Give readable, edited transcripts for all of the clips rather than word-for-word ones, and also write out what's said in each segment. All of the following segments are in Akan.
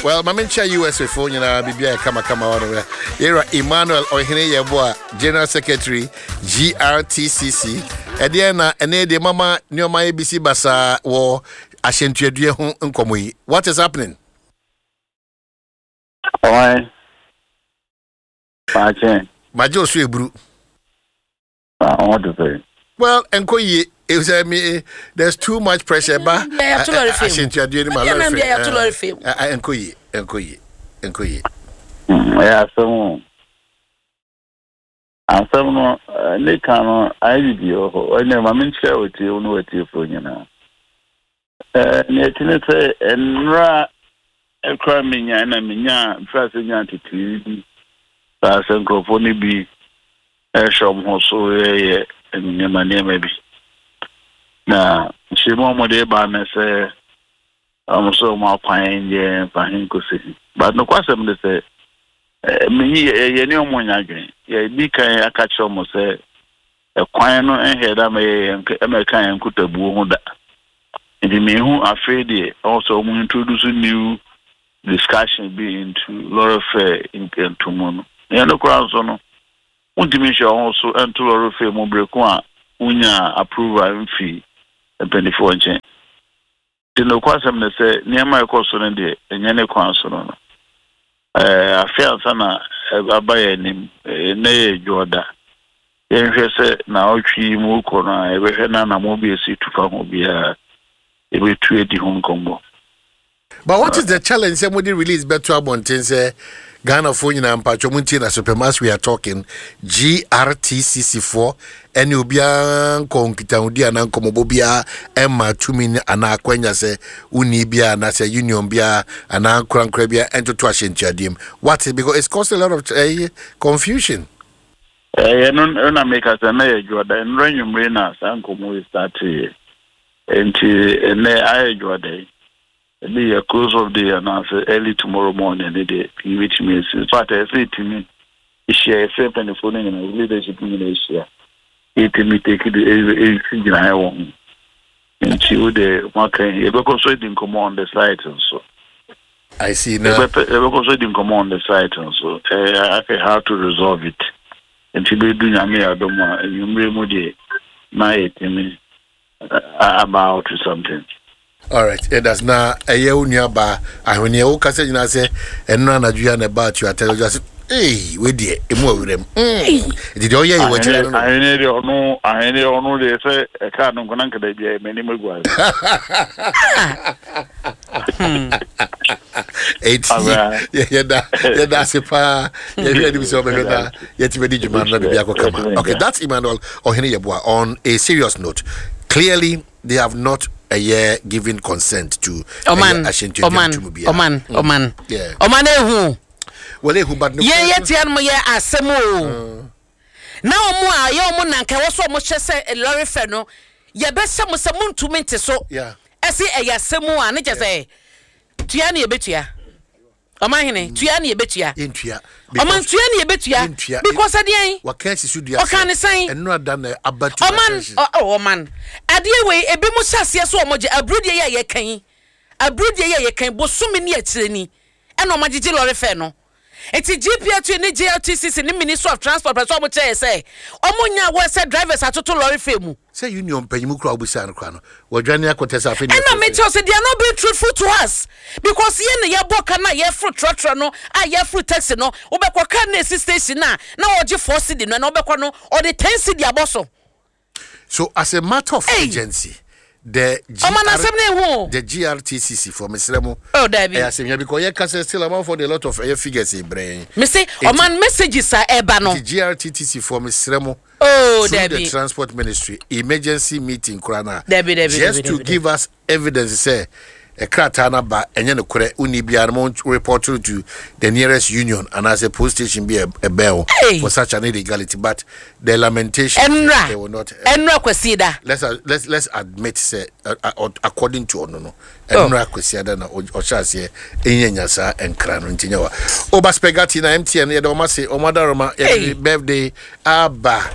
Well, ma menkyia USA foɔ nyinaa, biribiaa yɛ kamakama hɔ no. Yɛwura Emmanuel Ɔhene Yɛboa, General Secretary GRTCC. Ɛdeɛ na ɛne deɛ mama nneɛma yɛ bisi basaa wɔ ahyɛntuadua ho nkɔmmɔ yi. What is happening? Ɔwan. Maakye. Magye osu eburu. Na ɔho te sɛ. Well, ɛnkɔ yie. Sɛ me, there's too much pressure ba ahyɛntuadeɛ no mu alɔre fɛ, ɛnkɔ yie, ɛnkɔ yie, ɛnkɔ yie. Ɛyɛ asɛm o. Asɛm no ne ka no ayɛ bibi wɔ hɔ. Ɛnna ma menkyerɛ wɔtie wo ne wɔtiefoɔ nyinaa. Nea ɛte ne sɛ nnora kora menya na menya mfiri ase nya ntetee bi saa sɛ nkurɔfoɔ no bi ɛhyɛ wɔn ho so yɛyɛ nneɛma nneɛma bi. Na nhyiamu a wɔde ba ne sɛ wɔn sɛ wɔn akwan yɛ mfa he nkosi he. But nokwasɛm ne sɛ menyi yɛne wɔn nya adwene. Yɛdi kan aka kyerɛ wɔn sɛ ɛkwan no nhɛ da mɛyɛ yɛn ɛmɛka yɛn nkutabuo ho da. Nti mehu afei deɛ ɔwɔ sɛ wɔn introduce new discussion bi into lorry fare ntomu no. Yɛn no koraa nso no, wontumi nhyɛ wɔn ho so nto lorry fare mu bere ko a wonya approval mfi mpanimfoɔ nkyɛn. Nti nokwasɛm ne sɛ nneɛma a ɛkɔ so no deɛ, ɛnyɛ ne kwan so no no. Afe ansa na aba yɛn anim, nnɛ yɛ Dwoɔda. Yɛnhwɛ sɛ naawɔtwe yi mu kɔ no a, yɛbɛhwɛ na anammɔn bi a ɛsi tu fa ho biara, yɛbɛtu adi ho nkɔmmɔ. But what is the challenge sɛ mode release bɛto abɔnten sɛ Ghanafoɔ nyinaa mpatwɔ mo ntie na so pɛm? As we are talking, GRTCC foɔ ɛne obiara nkɔ nkitahodi anaa nkɔmmɔbɔ biara ɛma tumi anaa akwanya sɛ wonni biara anaasɛ union biara anaa nkorankora biara ɛntoto ahyɛntuadeɛ mu. What is, because it's causing a lot of confusion. Ɛyɛ no na meka sɛ na yɛ Dwoɔda, nnora nwummere na saa nkɔmmɔ yi starteeɛ. Nti ɛnɛ ayɛ Dwoɔda yi. Ebi yɛ close of day anaasɛ early tomorrow morning ne deɛ pii bɛtumi asi. In fact, ɛyɛ sɛ ɛtumi hyia, ɛsɛ mpanimfoɔ no nyinaa, leadership no nyinaa hyia. Yɛtumi take the ɛsi gyinaeɛ wɔ ho. Nti wo deɛ maka yi, yɛbɛkɔ so adi nkɔmmɔ on the site nso. I see na. Yɛbɛkɔ so adi nkɔmmɔ on the site nso. Ɛɛ afei how to resolve it. Nti bɛdu Nyame yɛ adom a, anwummerɛ mu deɛ na yɛtumi about to something. Alright, it na ɛyɛ wo nua baa ahweneɛ wo kasa nyinaa sɛ ɛno anadwo yi a na ɛbaa to atɛ ɔgya sɛ ee wei deɛ emu awura mu nti deɛ ɔyɛ yɛ wɔ akyire no no. Ahweneɛ deɛ ɔno, ahweneɛ ɔno deɛ sɛ ɛkaa no nkona nkada bi a m'anim agu ase. Eti yɛda ase paa, yɛhwɛ anim sɛ ɔbɛhwɛ na yɛtumi adi dwuma no na biribi akɔ kama. Okay, that's Emmanuel Ɔhene Yɛboa. On a serious note, clearly they have not ɛyɛ given consent to ɔman ɔman ɔman ɔman ɔman ehu. Well, ehu, but no. Yɛn yɛ tia no yɛ asɛm o. Na wɔn a yɛ wɔn nanka ɛwɔ so wɔn hyɛ sɛ lɔre fɛ no, yɛbɛhyɛ mo sɛ montumi nte so. Ɛsi ɛyɛ asɛm a ne kyɛ sɛ tua ne yɛbɛtua. Ɔmanhene, tua ne yɛbɛtua. Yɛntua. Ɔman, tua ne yɛbɛtua. Because ɛdeɛn? Waka asi so dua Ɔka ne sɛn? Ɛnora da na aba to Ɔman, ɔ ɔman. Adeɛ wei, ebi mo hyɛ aseɛ so ɔmo gye aburudeɛ yi a yɛka yi. Aburudeɛ yi a yɛka yi, bosome ne akyire ni ɛna ɔmo agyegye lɔre fɛ no. Nti GPRTU ne JLTCC ne Ministry of Transport pɛ sɛ ɔmo kyerɛ yɛ sɛ ɔmo nya aware sɛ drivers atoto lɔre fɛ mu. Sɛ union mpanyimu koraa a wobisaa no koraa no, wadwane akɔtɛ sɛ afei na Ɛna me kyerɛ sɛ they are not being truthful to us because yɛn na yɛbɔ ka no a yɛforo trɔtrɔ no a yɛforo taxi no, wobɛkɔ car no a ɛsi station no a na ɔgye 4 cedi no, ɛna wobɛkɔ no ɔde 10 cedi abɔ so. So as a matter of Hey! urgency, the Ɔma no asɛm no ehu o. The GRTCC for mesrɛ mo. Oh, dabi. Ɛyɛ asɛm hia because yɛka sɛ still amanfoɔ de a lot of ɛyɛ figures brɛ yɛn. Me se ɔman messages a ɛba no. Nti GRTTC for mesrɛ mo. Oh, through dabi. the Transport Ministry emergency meeting koraa na. Dabi, dabi, just dabi, to dabi, give us evidence sɛ ɛkrataa no aba, ɛnyɛ nokorɛ, wonni biara no, mo report to the nearest union anaasɛ police station bi a ɛbɛn wo Hey! for such an illegality. But the lamentation, Ɛnra they will not ɛnra Kwasi da. Let's admit sɛ according to ɔno no, Oh. ɛnra Kwasiada na ɔhyɛ aseɛ ɛnya nya saa nkra no. Nti nyɛ wa oba spaghetti na MTN yɛde ɔma se ɔmo adaroma yɛde Hey. birthday aba.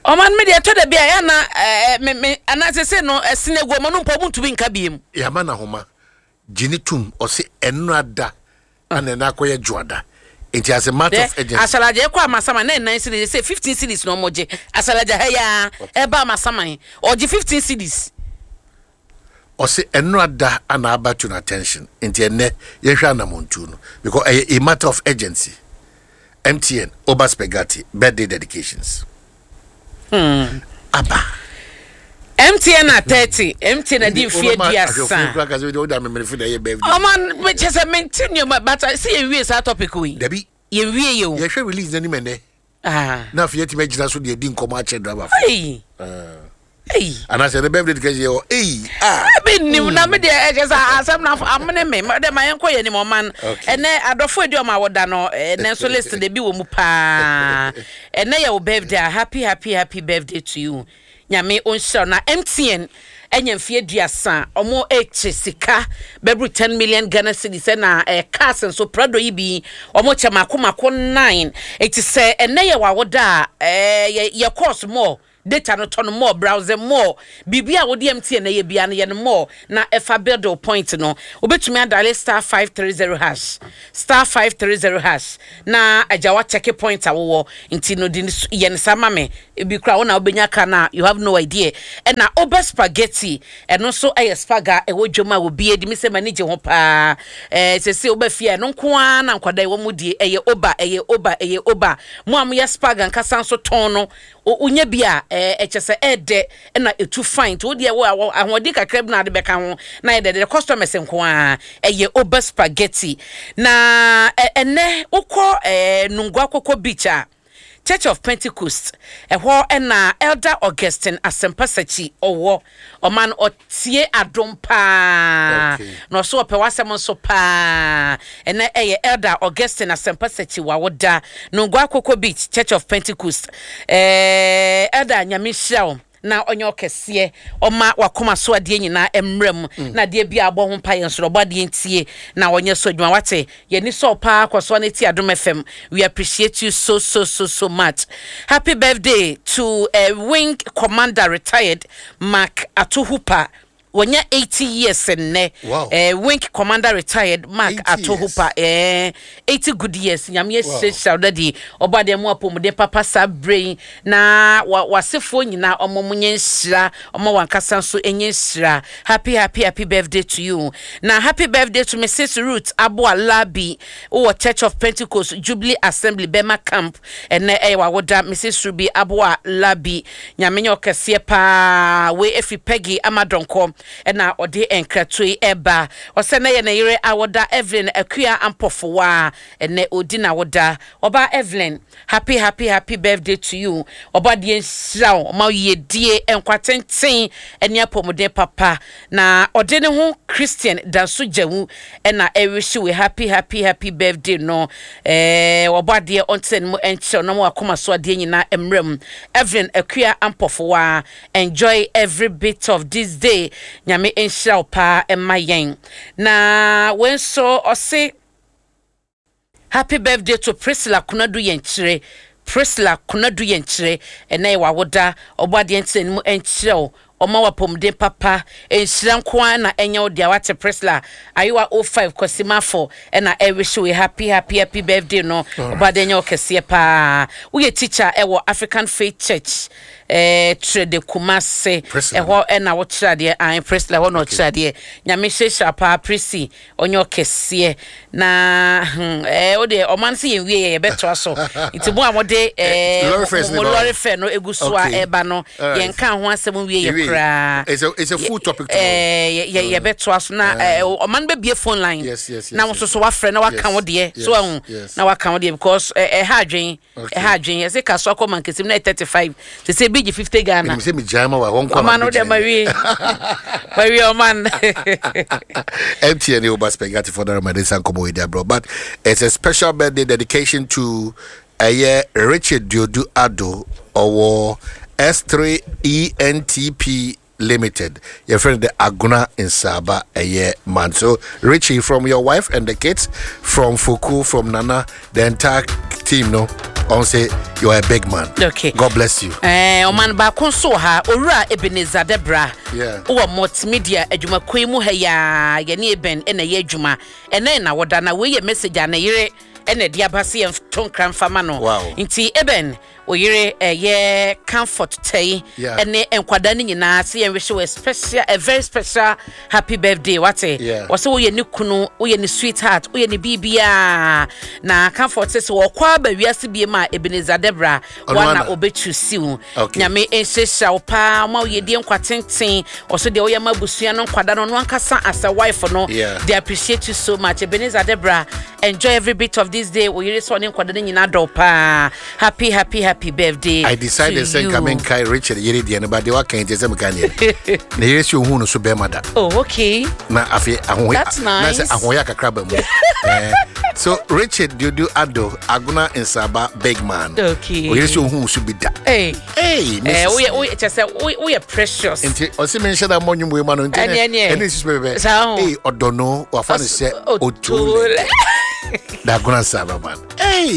Ɔman mi deɛ, ɛtɔ da bi a ɛyɛ na ɛɛ me me anaasɛ sɛ no ɛsene agu ɔmo no mpo, ɔmo ntumi nka biem. Yɛama na homa. Gye ne tom, ɔse ɛnora da ana ɛna akɔyɛ dwoada, nti as a matter of urgency. Asalagya ɛkɔ Amasaman na ɛnan cedis, ɛsɛ 15 cedis na ɔmo gye. Asalagya ha yi ara ɛba Amasaman ɔgye 15 cedis. Ɔse ɛnora da ana aba to no attention, nti ɛnɛ yɛhwɛ anamontuo no because ɛyɛ a matter of urgency. MTN Oba Spaghetti birthday dedications. Aba. MTN na 30, MTN na di mfie 30. Ɔma kyɛ sɛ mente nneɛma, but sɛ yɛnwie saa topic wei. Dabi. Yɛnwie yɛ o. Yɛhwɛ release n'anim ɛnɛ. Ah. Na afei yɛtumi agyina so de adi nkɔmmɔ akyerɛ driver fo. Ei. Ei. Anaasɛ ɛnɛ birthday dedication yɛ wɔ ei ah. Ebi nim na me deɛ ɛkyɛ sɛ asɛm na amene me dɛ ma yɛnkɔ yɛn anim ɔman. Ɛnɛ adɔfo edi ɔmo awoda no ɛnɛ nso list de bi wɔ mu paa. Ɛnɛ yɛ wo birthday a, happy happy happy birthday to you. Nyame ɔnhyira wo. Na MTN anya mfeɛ 30, ɔmo ɛkyɛ sika bɛboro 10 million Ghana cedis, ɛna eh, cars nso Prado yi bi ɔmo kyɛ mako mako 9. Eti sɛ ɛnɛ yɛ w'awoda a, eh, yɛ yɛ course more, data no tɔ no more, browse more, biribi a wode MTN ɛyɛ biara no yɛ no more na ɛfa build wo point no. Wobɛtumi adale *530#, *530# na agya wa check point a wowɔ nti no de yɛ no saa ma me. Ebi koraa wo na wobɛnya ka no a, you have no idea. Ɛna Oba spaghetti, ɛno nso ɛyɛ spaga a ɛwɔ dwam a obi adi me sɛ m'ani gye ho paa. Ɛɛ sɛsɛ woba fie a ɛno nko ara na nkwadaa yi wɔn mu die, ɛyɛ Oba, ɛyɛ Oba, ɛyɛ Oba. Mo a moyɛ spaga nkasa nso tɔn no, wonya bi a ɛɛ ɛkyɛ sɛ ɛɛdɛ na ɛtu fine, nti wo deɛ wo ahoɔden kakra bi na ade bɛka ho na ayɛ dɛdɛdɛ, customers nko ara. Ɛyɛ Oba spaghetti. Na ɛnɛ wokɔ ɛɛ Nungua Koko Beach a, Church of Pentecost, ɛhɔ na Elder Augustine Asempa Sakyi ɔwɔ. Ɔma no ɔtie adom paa. Na ɔso ɔpɛ w'asɛm nso paa. Ɛnɛ ɛyɛ Elder Augustine Asempa Sakyi wawoda. Nungua Koko Beach, Church of Pentecost. Ɛɛ Elder, Nyame nhyira wo na ɔnyɛ ɔkɛseɛ, ɔma wakoma so adeɛ nyinaa mmerɛ mu, na adeɛ bi a abɔ ho mpa yɛn soro ɔbɔ adeɛ ntie na ɔnyɛ so adwuma. Wate, yɛni sɛ ɔpaa kɔ so na ti Adom FM. We appreciate you so so so so much. Happy birthday to Wing Commander retired Mark Atohupa. Wɔnya 80 years nnɛ. Wow. Wing Commander retired Mark 80 Atohupa. 80 good years. Nyame ahyirahyira wo dadi. Ɔbɔ adeɛ mu apɔmuden papa saa berɛ yi. Na wasefoɔ nyinaa ɔmo mo nyɛ nhyira. Ɔmo wankasa nso nyɛ nhyira. Happy happy happy birthday to you. Na happy birthday to Mrs. Ruth Aboa Labi. Wowɔ Church of Pentecost Jubilee Assembly Bɛma Camp. Ɛnɛ ɛyɛ wawoda, Mrs. Ruby Aboa Labi. Nyame nyɛ ɔkɛseɛ paa. Wei efi Peggy Amadɔnkɔ ɛna ɔde nkratoɔ yi ɛba. Ɔsɛ nɛ yɛ ne yere awoda, Evelyn Akua Ampɔfowa. Ɛnɛ odi n'awoda. Ɔbaa Evelyn, happy happy happy birthday to you. Ɔbɔ adeɛ nhyira wo, ɔma wo yiedie, nkwa tenten ɛne apɔmuden papa. Na ɔde ne ho Christian Danso Gyawu ɛna ɛrehye wo happy happy happy birthday no. Ɔbɔ adeɛ ɔntena ne mu ɛnkyerɛ na ɔma wakoma so adeɛ nyinaa mmerɛ mu. Evelyn Akua Ampɔfowa, enjoy every bit of this day. Nyame nhyira wo paa ɛma yɛn. Na wei nso ɔse happy birthday to Priscilla Konadu Yɛnkyerɛ. Priscilla Konadu Yɛnkyerɛ, ɛnɛ yɛ wawoda. Ɔbɔ adeɛ ntena ne mu ɛnkyerɛ wo, ɔma wapɔmuden papa, nhyira nko ara na ɛnyɛ wo deɛ. Wate Priscilla Ayewa 05 Kwasimafo ɛna ɛrehye wo happy happy happy birthday no. Ɔbɔ adeɛ nyɛ wo kɛseɛ paa. Woyɛ teacher ɛwɔ African Faith Church Trede Kumase, ɛhɔ ɛna wokyerɛ adeɛ. Ae Priscilla, ɛhɔ na ɔkyerɛ adeɛ. Nyame hyirahyira paa Prissy, ɔnyɛ ɔkɛseɛ. Na wo deɛ ɔman sɛ yɛn wie yɛ yɛbɛtoa so, nti mo a mode mo lorry fare no egu so a ɛba no, yɛn ka ho asɛm wie yɛ koraa. It's a full topic tomorrow. Yɛbɛtoa so na ɔman bɛbie phone line na wo nso so wafrɛ na waka wo deɛ so ahu na waka wo deɛ, because ɛha adwen. Ɛha adwen. Yɛsɛ kasoa kɔ mankesim na yɛ 35 te sɛ ebi gye 50 Ghana. Ɛnim sɛ megyae ma wa hɔ nkɔ. Ɔman no deɛ mawie mawie ɔman. MTN Oba Spaghetti for the Ramadan Sankomo Bro. But it's a special birthday dedication to ɛyɛ Richard Diodu Ado ɔwɔ S3 ENTP. Limited. Yɛfrɛ no the Agona Nsaba ɛyɛ man. So Richie, from your wife and the kids, from Foku, from Nana, the entire team no, ɔn sɛ you are a big man. Okay. God bless you. Eh, ɔman baako nso wɔ ha, Owura Ebenezer Debra. Yeah. Wɔ multimedia adwumakuo yi mu ha yi ara, yɛne Eben na ɛyɛ adwuma. Ɛnɛ na wɔda na wei yɛ message a ne yere ɛna ɛde aba sɛ yɛnto nkra mfa ma no. Wow. Nti Eben, wo yere ɛyɛ Comfort Tɛyi Yeah. ɛne nkwadaa no nyinaa sɛ yɛn wish wo a special, a very special happy birthday wate. Yeah. Wɔsɛ woyɛ ne kunu, woyɛ ne sweetheart, woyɛ ne biribiara. Na Comfort sɛ sɛ wɔkɔ aba wiase biem a Ebenezer Debra Ɔno wana ana? ɔbɛtu wo. Okay. Nyame nhyirahyira wo paa ma woyɛ die nkwa tenten. Ɔso deɛ woyɛ ma abusua no nkwadaa no, ɔno ankasa as a wife no, Yeah. they appreciate you so much. Ebenezer Debra, enjoy every bit of this day. Wo yere sɛ ɔne nkwadaa no nyinaa dɔ wo paa. Happy, happy, happy birthday I decided to sɛ you. nka menkae Richard yere deɛ no, but deɛ waka yi nti sɛ meka neɛ ne yere sɛ ohuu no so bɛrima da. Oh, okay. Na afei ahohoya That's na nice. sɛ ahohoya kakra ba mu. Eh, so Richard Dudu Ado Agona Nsaba big man. Okay. Oyere sɛ ohuu so bi da. Hey. Hey, Eh, Mrs. woyɛ woyɛ kyɛ sɛ woyɛ precious. Nti ɔsi mi nhyɛ da mmɔ nnwom wei ma no nti Ɛne, ɛne. ɛne nsusu bɛbɛ. Saa ho. Ee, ɔdɔ no wafa no sɛ Otole. otole. Da Agona Nsaba man. Hey.